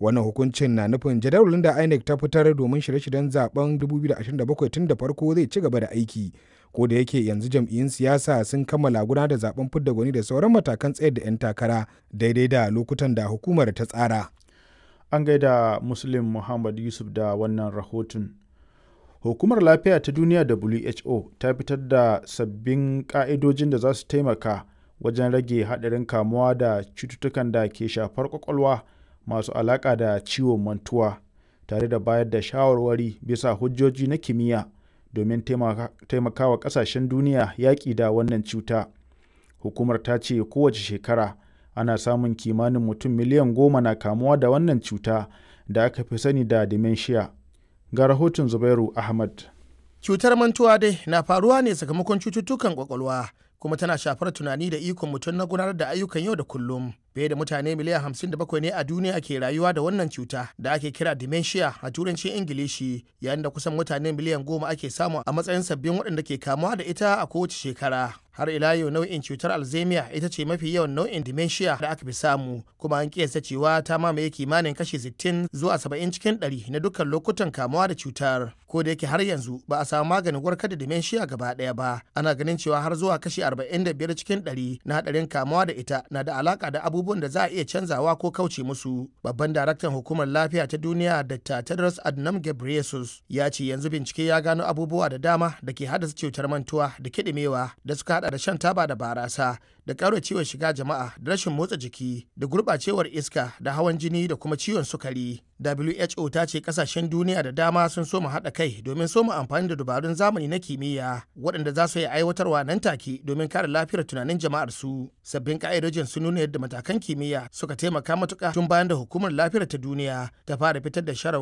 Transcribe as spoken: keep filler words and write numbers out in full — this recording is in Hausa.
Wannan hukuncin na nufin jadawalin da INEC ta fitar domin shirye-shiryen zaben dubu biyu da ashirin da bakwai tun da farko zai ci gaba da aiki. Ko da yake yanzu jam'iyyun siyasa sun kammala gudanar da zaben fidda gwani da sauran matakan tsayar da 'yan takara daidai da lokutan da hukumar ta tsara. An gaida Muslim Muhammad Yusuf da wannan rahoton. Hukumar Lafiya ta Duniya W H O ta fitar da sabbin ƙa'idojin da za su taimaka wajen rage haɗarin kamuwa da cututtukan da ke shafar ƙwaƙwalwa masu alaƙa da ciwon mantuwa, tare da bayar da shawarwari bisa hujjoji na kimiyya domin taimakawa ƙasashen duniya yaƙi da wannan cuta. Hukumar ta ce kowace shekara ana samun kimanin mutum miliyan goma na kamuwa da wannan cuta da aka fi sani da dementia. Ga rahoton Zubairu Ahmad. Cutar mantuwa dai na faruwa ne sakamakon cututtukan kwakwalwa, kuma tana shafar tunani da ikon mutum na gudanar da ayyukan yau da kullum. Fiye da mutane miliyan hamsin da bakwai ne a duniya ke rayuwa da wannan cuta da ake kira dementia a turancin Ingilishi, yayin da kusan mutane miliyan goma ake samu a matsayin sabbin waɗanda ke kamuwa da ita a kowace shekara. Har ila yau, nau'in cutar Alzheimer ita ce mafi yawan nau'in dementia da aka fi samu, kuma an kiyasta cewa ta mamaye kimanin kashi sittin zuwa saba'in cikin ɗari na dukkan lokutan kamuwa da cutar. Ko da yake har yanzu ba a samu maganin warkar da dementia gaba ɗaya ba, ana ganin cewa har zuwa kashi arba'in da biyar cikin ɗari na haɗarin kamuwa da ita na da alaka da abubuwan da za a iya canzawa ko kauce musu. Babban daraktan Hukumar Lafiya ta Duniya, Doctor Tedros Adhanom Ghebreyesus, ya ce yanzu bincike ya gano abubuwa da dama da ke haddasa cutar mantuwa da kiɗimewa, da suka hada da shan taba da barasa da ciwon shiga jama'a da rashin motsa jiki da gurɓacewar iska da hawan jini da kuma ciwon sukari. W H O ta ce kasashen duniya da dama sun soma haɗa kai domin soma amfani da dabarun zamani na kimiyya waɗanda za su yi aiwatarwa nan take domin kare lafiyar tunanin jama'ar su. Sabbin ka'idojin sun nuna yadda matakan kimiyya suka taimaka matuƙa tun bayan da Hukumar Lafiyar ta Duniya ta fara fitar da sharar